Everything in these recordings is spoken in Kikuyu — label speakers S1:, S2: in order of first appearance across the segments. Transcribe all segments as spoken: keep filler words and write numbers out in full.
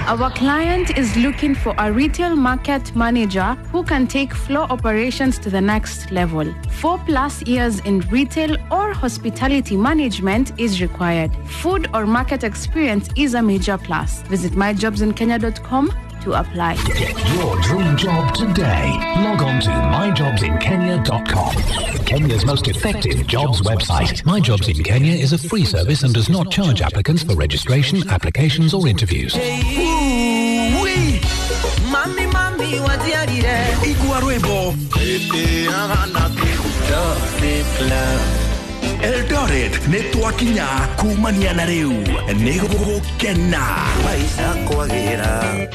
S1: Our client is looking for a retail market manager who can take floor operations to the next level. Four plus years in retail or hospitality management is required. Food or market experience is a major plus. Visit my jobs in kenya dot com to apply.
S2: Get your dream job today. Log on to my jobs in kenya dot com. Kenya's most effective jobs website. My Jobs in Kenya is a free service and does not charge applicants for registration, applications or interviews.
S3: Ooh-wee.
S4: Mami, mami, watiarire.
S3: Igua rwimbo. Eldoret nĩ twakinya kumania na rĩu nĩ gũgũkena.
S4: Maisha kwagĩra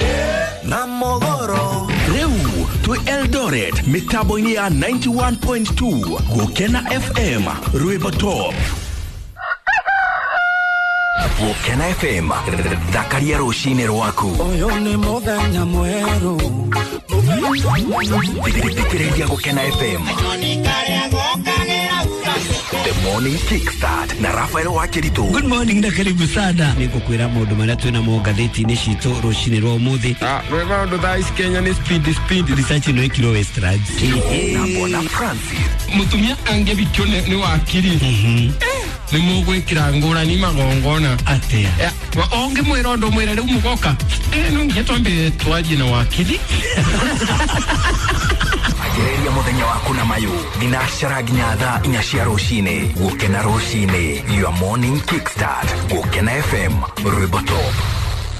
S4: na mogoro.
S3: Rĩu twĩ Eldoret mĩtambo-inĩ ya ninety-one point two Gũkena F M rwĩmbo top.
S5: Gũkena F M thakaria rũcinĩ rwaku.
S4: Ũyũ nĩ mũthenya mwerũ.
S5: Thikĩrĩria Gũkena F M. The Morning Kickstart na Rafael Wakiritu.
S6: Good morning na karibu sana. Nĩngũkwĩra maũndũ marĩa twĩna mo ngathĩti-inĩ citũ rũcinĩ rwa ũmũthĩ.
S7: Ah, rwĩ maũndũ thaa ici Kenya nĩ speed, speed.
S6: Research ĩno ĩkirwo Westlands.
S5: Na Bwana Francis.
S7: Mũtumia angĩbikio nĩ, nĩ wakiri.
S6: Mhm.
S7: Nĩ mũgwĩkĩra ngũrani magongona.
S6: Atĩa?
S7: Eh, wa-, ũngĩmwĩra ũndũ mwĩre rĩu mũgoka. Eh, no nginya twambe twarie na wakiri.
S5: Anjĩrĩria mũthenya waku na mayũ thinacara nginya thaa inya cia rũcinĩ. Gũkena rũcinĩ, your morning kickstart. Gũkena F M rwĩmbo top.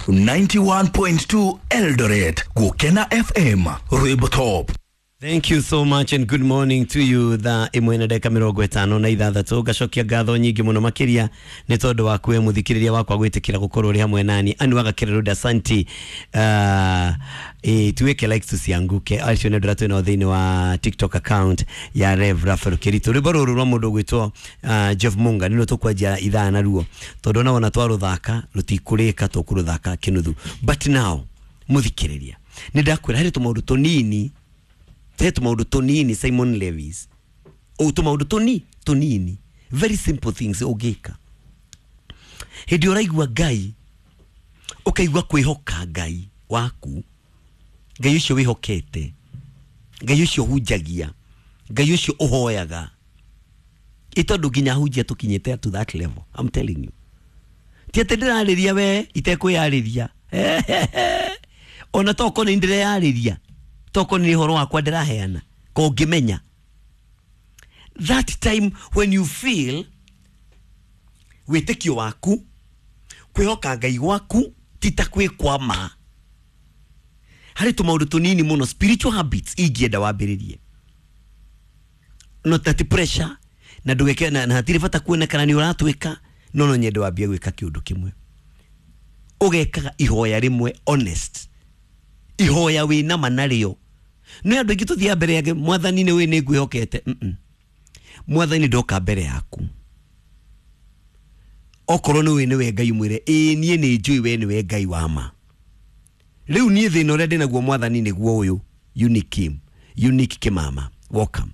S3: ninety-one point two Eldoret. Gũkena F M rwĩmbo top.
S6: Thank you so much and good morning to you. Thaa ĩmwe na ndagĩka mĩrongo ĩtano na ithathatũ. Ngacokia ngatho nyingĩ mũno makĩria nĩ tondũ waku we mũthikĩrĩria wakwa gwĩtĩkĩra gũkorwo ũrĩ hamwe nani. Anu agakĩrĩrũnda asanti. Uh, eh, tuweke likes tusianguke. Acio nĩ andũ arĩa twĩnao thĩinĩ wa TikTok account ya Rev Raphael Kiritu. Rwĩmbo rũrũ rwa mũndũ ũgwĩtwo, uh, Jeff Munga nĩruo tũkwanjia ithaa naruo tondũ ona wona twarũthaka rũtikũrĩka, tũkũrũthaka kĩnuthu. But now mũthikĩrĩria, nĩ ndakwĩra harĩ tũmaũndũ tũnini, harĩ tũmaũndũ tũnini Simon Lewis, o tũmaũndũ tũni tũnini, very simple things ũngĩka hĩndĩ ũraigua Ngai, ũkaigua kwĩhoka Ngai waku, Ngai ũcio wĩhokete, Ngai ũcio ũhunjagia, Ngai ũcio ũhoyaga. Ĩ tondũ nginya hunjia tũkinyĩte to that level, I'm telling you. Ti atĩ ndĩrarĩria we itekwĩyarĩria. Ona tokorwo nĩ ndĩreyarĩria, tokorwo nĩ ũhoro wakwa ndĩraheana, ko ũngĩmenya. That time when you feel wĩtĩkio waku, kwĩhoka Ngai gwaku ti ta kwĩkwama. Harĩ tũmaũndũ tũnini mũno, spiritual habits ingĩenda wambĩrĩrie. Not that pressure, na ndũgeke, na, na hatirĩ bata kuona kana nĩ ũratwĩka, no no nyende wambie gwĩka kĩũndũ kĩmwe. Ũgekaga ihoya rĩmwe honest. Ihoya wĩna ma narĩo. Nĩ andũ aingĩ tũthiaga mbere yake, Mwathani nĩ wĩ nĩ ngwĩhokete. Mm-mm. Mwathani ndoka mbere yaku. Okorwo nĩ wĩ nĩwe Ngai mwĩre, ĩĩ niĩ nĩ njũĩ we nĩwe Ngai wa ma. Rĩu niĩ thĩna ũrĩa ndĩnaguo Mwathani nĩguo ũyũ. Unique Kim, Unique Kimama, welcome.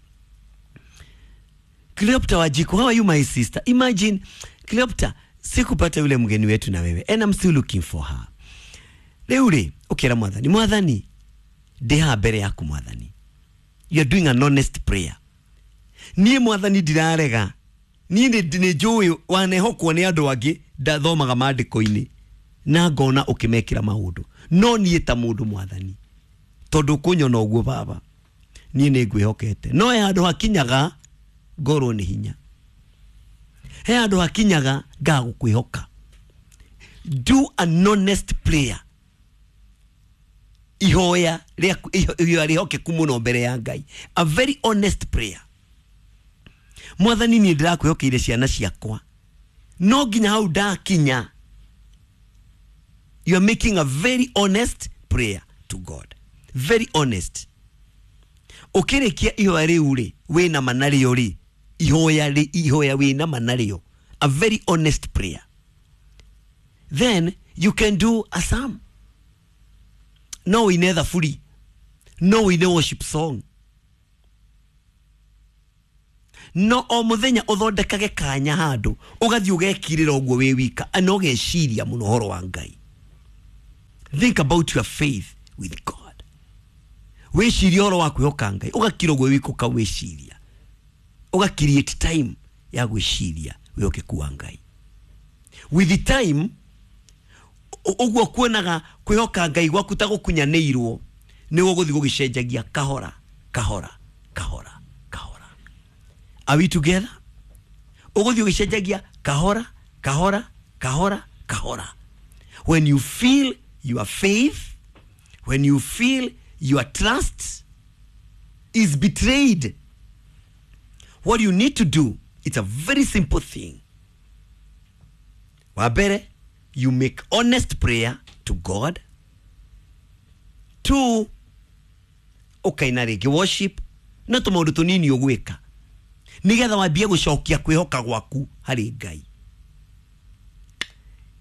S6: Cleopatra Wajiko, how are you my sister? Imagine Cleopatra, sikupata yule mgeni wetu na wewe, and I'm still looking for her. Rĩu rĩ, ũkĩra Mwathani, Mwathani, ndĩ haha mbere yaku Mwathani. You are doing an honest prayer. Niĩ Mwathani ndirarega. Niĩ nĩ, nĩ njũĩ wanehokwo nĩ andũ angĩ, ndathomaga maandĩko-inĩ na ngona ũkĩmekĩra maũndũ. No niĩ ta mũndũ Mwathani, tondũ ũkũnyona ũguo baba, niĩ nĩ ngwĩhokete. No he handũ hakinyaga ngorwo nĩ hinya. He handũ hakinyaga ngaga gũkwĩhoka. Do an honest prayer. Ihoya rĩaku, ihoya rĩhokeku mũno mbere ya Ngai. A very honest prayer. Mwathani niĩ ndĩrakwĩhokeire ciana ciakwa, no nginya hau ndakinya. You are making a very honest prayer to God. Very honest. Ũkĩrĩkia ihoya rĩu rĩ, wĩna ma narĩo rĩ, ihoya rĩ, ihoya wĩna ma narĩo. A very honest prayer. Then you can do a psalm. No ũine thaburi, no ũine worship song. No o mũthenya ũthondekage kanya handũ, ũgathiĩ ũgekirĩra ũguo wĩ wika, na ũgeciria mũno ũhoro wa Ngai. Think about your faith with God. Wĩcirie ũhoro wa kwĩhoka Ngai, ũgakira ũguo wĩka ũkawĩciria, ũga create time ya gwĩciria wĩhokeku wa Ngai. With the time ũguo kuonaga kwĩhoka Ngai gwaku ta gũkunyanĩirwo, nĩ gũgũthiĩ gũgĩcenjagia kahora kahora kahora kahora. Are we together? Ũgũthiĩ ũgĩcenjagia kahora kahora kahora kahora. When you feel your faith, when you feel your trust is betrayed, what you need to do, it's a very simple thing. Wa mbere, you make honest prayer to God. Two, ũkaina rĩngĩ worship, no tũmaũndũ tũnini ũgwĩka nĩgetha wambie gũcokia kwĩhoka gwaku harĩ Ngai.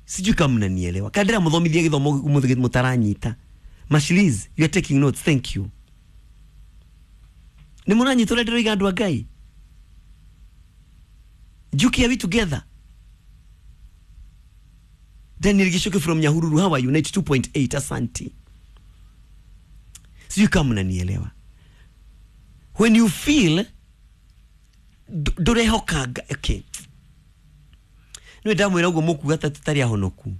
S6: Sijui kama mnanielewa. Kadira muthomithia githomo umuthi mutaranyita. Mashiliz, you are taking notes, thank you. Ni munanyita uria ndiroiga andu a Ngai. Juki, are we together? Daniel Gishoke from Nyahururu, how are you? ninety-two point eight, asante. Sijui kama mnanielewa. When you feel ndurehoka, okay. Nĩ ndamwĩra ũguo mũkuga ta tũtarĩ ahonoku.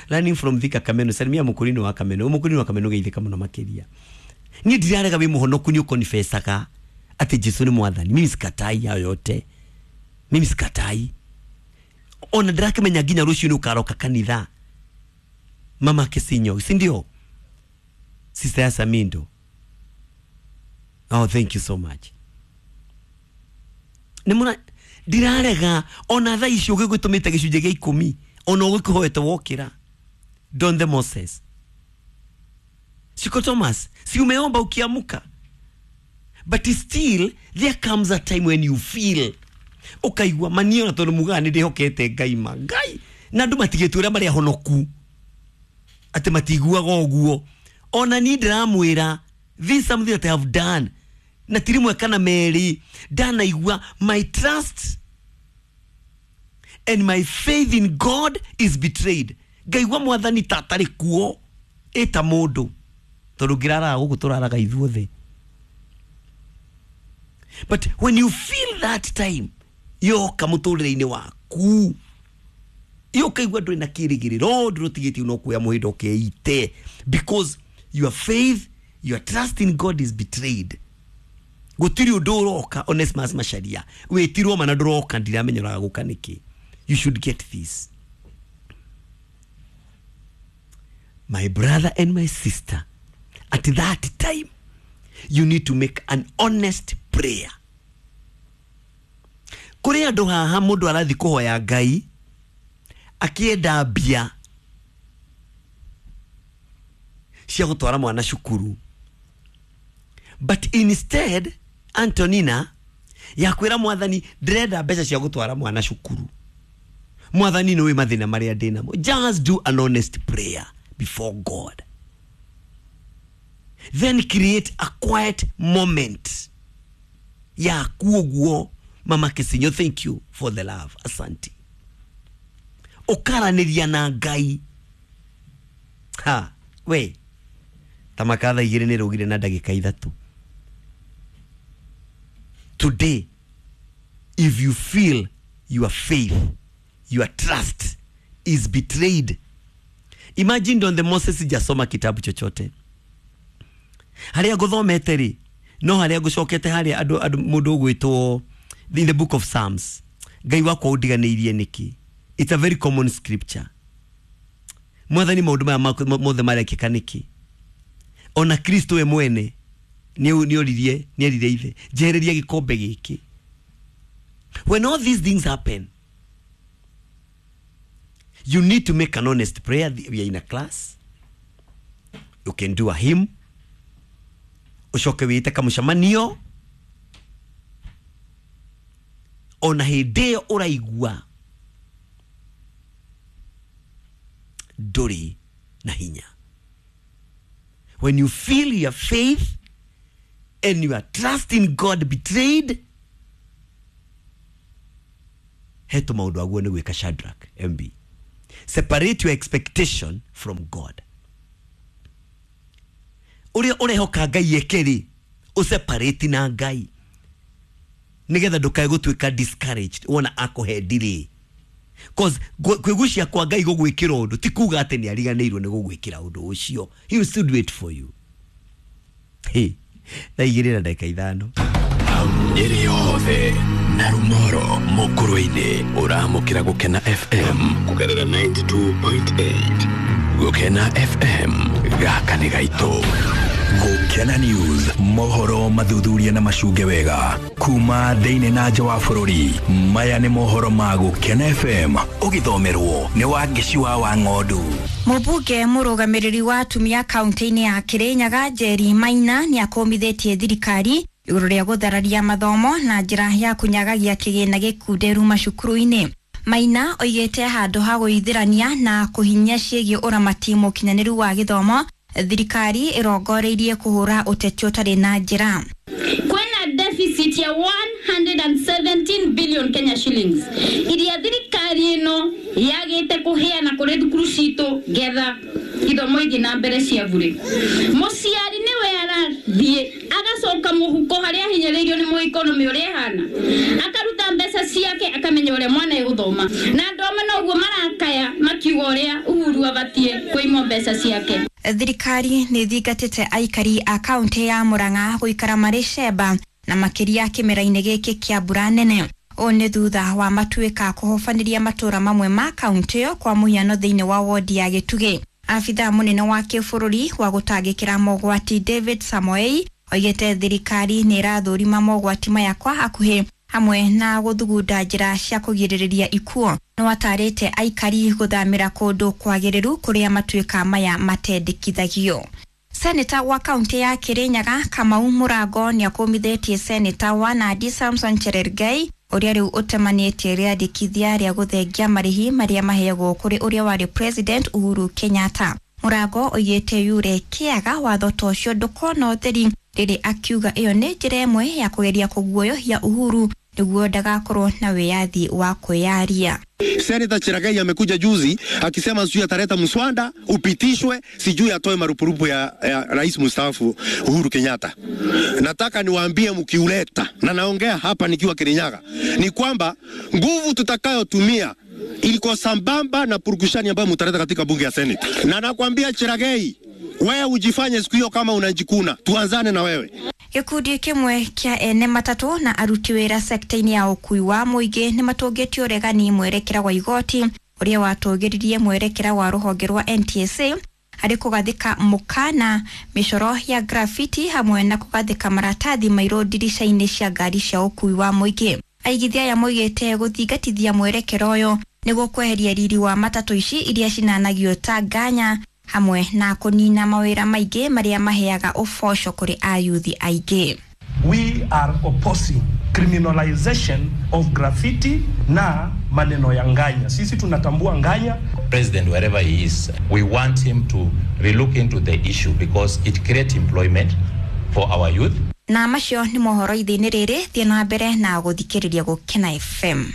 S6: Learning from Thika Kameno, salimia mũkũrinũ wa Kameno, mũkũrinũ wa Kameno geithĩka mũno makĩria. Niĩ ndirarega wĩ mũhonoku nĩ ũkonifesaga atĩ Jesu nĩ mwathani. Mimi sikatai hayo yote. Mimi sikatai. Ona ndirakĩmenya nginya rũciũ nĩ ũkaroka kanitha. Mama Kisinyo, si ndio? Sister ya Samindo. Oh, thank you so much. Nĩ mũra ndirarega ona thaa ici ũgĩgũtũmĩte gĩcunjĩ gĩa ikũmi ona ũgĩkũhoete wokĩra. Don the Moses. Siko Thomas, si umeomba ukiamuka. But still there comes a time when you feel ukaigua manio na tondu mugaga nĩ ndĩhokete Ngai ma Ngai na andũ matigĩtwo ũrĩa marĩ ahonoku atĩ matiguaga ũguo. Ona niĩ ndĩramwĩra this is something that I have done na ti rĩmwe kana merĩ ndanaigua my trust and my faith in God is betrayed. Ngaigua mwathani ta atarĩ kuo ĩta mũndũ tondũ ngĩraraga gũkũ tũraraga ithuothe. But when you feel that time yoka mũtũrĩre-inĩ waku yokaigua ndũrĩ na kĩrĩgĩrĩro ndũrũtigĩtie no kuoya mũhĩndo ũkeite because your faith, your trust in God is betrayed. Gũtirĩ ũndũ ũroka Onesmus Macharia wĩtirwo mana ndũroka ndiramenya ũraga gũka nĩkĩ. You should get this, my brother and my sister. At that time you need to make an honest prayer. Kũrĩ andũ haha mũndũ arathi kũhoya Ngai akĩenda mbia cia gũtwara mwana cukuru, but instead Antonina ya kwĩra mwathani ndĩrenda mbeca cia gũtwara mwana cukuru, mwathani nĩũĩ mathĩna marĩa ndĩ namo. Just do an honest prayer before God, then create a quiet moment yaku ũguo. Mama Kisinyo, thank you for the love, asante. Ũkaranĩria na Ngai. Ha we tamakatha igĩrĩ nĩ rũgire na ndagĩka ithatũ. Today, if you feel your faith, your trust is betrayed, imagine Don the Moses sijasoma kitabu chochote harĩa ngũthomete rĩ no harĩa ngũcokete harĩa andũ andũ mũndũ ũgwĩtwo in the book of Psalms, Ngai wakwa ũndiganĩirie nĩkĩ? It's a very common scripture. Mwathani maũndũ maya mothe marekĩka nĩkĩ? Ona Kristo we mwene nĩ oririe nĩ erire ithe njehereria gĩkombe gĩkĩ. When all these things happen, you need to make an honest prayer. We are in a class, you can do a hymn, ucoke wĩte kamũcemanio. Ona hĩndĩ ĩyo ũraigua ndũrĩ na hinya, when you feel your faith and your trust in God betrayed, he tũmaũndũ aguo nĩ gwĩka Shadrach M B. Separate your expectation from God. Uria urehoka Ngai eke ri, useparate na Ngai nigetha ndukae gutuika discouraged wona akuhe delay. Cause kwigucia kwa Ngai gugwikira undu ti kuga ati ni ariganirwo ni gugwikira undu ucio. He will still do it for you. Hey, thaa igĩrĩ na ndagĩka ithano.
S5: Nyeri yothe na Rumoro Mukurwe-inĩ ũramũkĩra Gũkena F M kũgerera ninety-two point eight. Gũkena F M, gaka nĩ gaitũ. Gũkena News, mohoro mathuthuria na macunge wega kuma thĩinĩ na nja wa bũrũri. Maya nĩ mohoro ma Gũkena F M, ũgĩthomerwo nĩ Wangeci wa Wang'ondu.
S8: Mũmbunge mũrũgamĩrĩri wa atumia kaunti-inĩ ya Kirinyaga Njeri Maina nĩ akũmithĩtie thirikari igũrũ rĩa gũthararia mathomo na njĩra ya kũnyagagia kĩgĩna gĩkunderu macukuru-inĩ. Maina oigĩte handũ ha gũithĩrania na kũhinyia ciĩgiĩ ũramati mũkinyanĩru wa gĩthomo, thirikari ĩrongoreirie kũhũra ũteti ũtarĩ na njĩra.
S9: Kwena deficit ya one hundred seventeen billion Kenya shillings iria thirikari ĩno yagĩte kũheana kũrĩ thukuru citũ getha ithomo ithiĩ na mbere cia bure. Mũciari nĩwe arathiĩ agacoka mũhuko harĩa ahinyĩrĩirio nĩ mũekonomy ũrĩa ĩhana, akaruta mbeca ciake akamenya ũrĩa mwana egũthoma, na andũ amwe noguo marakaya makiuga ũrĩa Uhuru abatiĩ kũimwo mbeca ciake.
S8: Thirikari nĩ thingatĩte aikari a kaunti ya Murang'a gũikara marĩ cemba na makĩria kĩmera-inĩ gĩkĩ kĩa mbura nene. Ũũ nĩ thutha wa matuĩka kũhobanĩria matũra mamwe ma kaunti ĩyo, kwa mũhiano thĩinĩ wa wodi ya Gĩtugĩ. Abithaa mũnene wa kĩbũrũri wa gũtangĩkĩra mogwati David Samoei oigĩte thirikari nĩ ĩrathũrima mogwati maya kwa hakuhĩ hamwe na gũthugunda njĩra cia kũgirĩrĩria ikuũ. No atarĩte aikari gũthamĩra kũndũ kwagĩrĩru kũrĩa matuĩka maya matendekithagio. Seneta wa kaunti ya Kirinyaga Kamau Mũrango nĩ akũmithĩtie seneta wa Nandi Samson Cherargei ũrĩa rĩu ũtemanĩtie rĩandĩkithia rĩa gũthengia marĩhi marĩa maheagwo kũrĩ ũrĩa warĩ President Uhuru Kenyatta. Mũrango oigĩte yure kĩaga watho ta ũcio ndũkona ũtheri, rĩrĩ akiuga ĩyo nĩ njĩra ĩmwe ya kũgeria kũguoyohia Uhuru nĩguo ndagakorwo na wĩyathi wa kwĩyaria.
S10: Senator Cherargei amekuja juzi akisema sijui ataleta mswada upitishwe, sijui atoe marupurupu ya, ya rais mstaafu Uhuru Kenyatta. Nataka niwaambie mkiuleta, na naongea hapa nikiwa Kirinyaga, ni kwamba nguvu tutakayotumia ilikuwa sambamba na purukushani ambayo mtaleta katika bunge ya Senate. Na nakwambia Cherargei, wewe ujifanye siku hiyo kama unajikuna, tuanzane na wewe.
S8: Gĩkundi kĩmwe kĩa ene matatũ na aruti wĩra sekta-inĩ ya ũkui wa mũingĩ nĩ matũngĩtie ũregani mwerekera wa igoti ũrĩa watũgĩririe mwerekera wa rũhonge rwa N T S A harĩ kũgathĩka mũkana mĩcoro ya graffiti hamwe na kũgathĩka maratathi mairũ ndirica-inĩ cia ngari cia ũkui wa mũingĩ. Aigithia aya moigĩte gũthingatithia mwerekera ũyũ nĩguo kweheria riri wa matatũ ici iria cinanagio ta nganya hamwe na kũnina mawĩra maingĩ marĩa maheaga ũboco kũrĩ ayuthi aingĩ.
S11: We are opposing criminalization of graffiti na maneno ya nganya. Sisi tunatambua nganya.
S12: President, wherever he is, we want him to relook into the issue because it creates employment for our youth.
S8: Na macio nĩ mohoro ithĩ-inĩ rĩrĩ, thiĩ na mbere na gũthikĩrĩria Gũkena F M.